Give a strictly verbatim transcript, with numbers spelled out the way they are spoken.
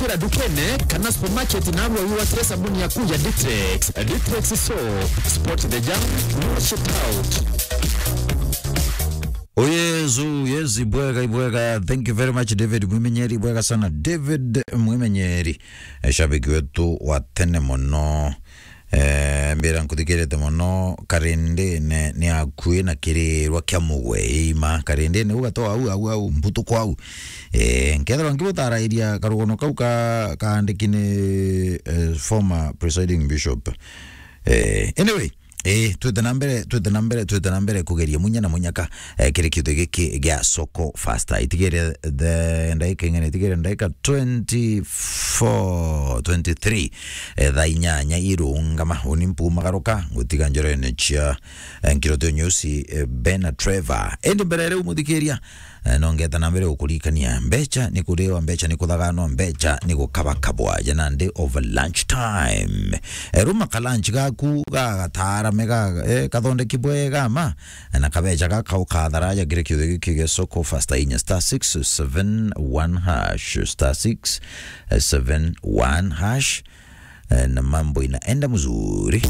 Ra dukene kana supermarket na arua wiwatie sabuni yaku ya Ditrex. Ditrex soap, spot the germ, wash it out. Oh yes, oh yes, ibwega, ibwega. Thank you very much, David Mwimenyeri. Ibwega sana, David Mwimenyeri. Eh, shabiki wetu wa tene mono. Eh, mbira nkuthikirite mono, Karindine ni akui na kirirwa kia mugwe, ima, Karindine ugatoa au, au, au, mbutuko au. Eh, nkethirwa nkibutarairia karugono kau ka, kaandiki ni, eh, former presiding bishop. Eh, anyway, eh, twite na mbere, twite na mbere, twite na mbere kugeria munya na munyaka, eh, kiri kiuthi giki gia Soko Faster. Itigere the ndaika ing'ana, itigere ndaika twenty-four, twenty-three, eh, thaa inyanya irungama. Uni mpumagaruka, ngutiga njorene cia, eh, nkirotio nyusi, eh, Ben na Trevor. Indi mbere riu muthikiria, eh, no ngeta na mbere gukurikania, mbecha ni kuriwa, mbecha ni kuthaganwa, mbecha ni gukabakabwa. Jana ndi over lunch time. Eh, ruma ka lunch gaku gagatarame ga, eh, kathondeki bwega ma, na kabecha gaka ukatharaja kiri kiuthi giki gia Soko Faster inya star six seven one hash, star six seven one hash, eh, na mambo inaenda mzuri.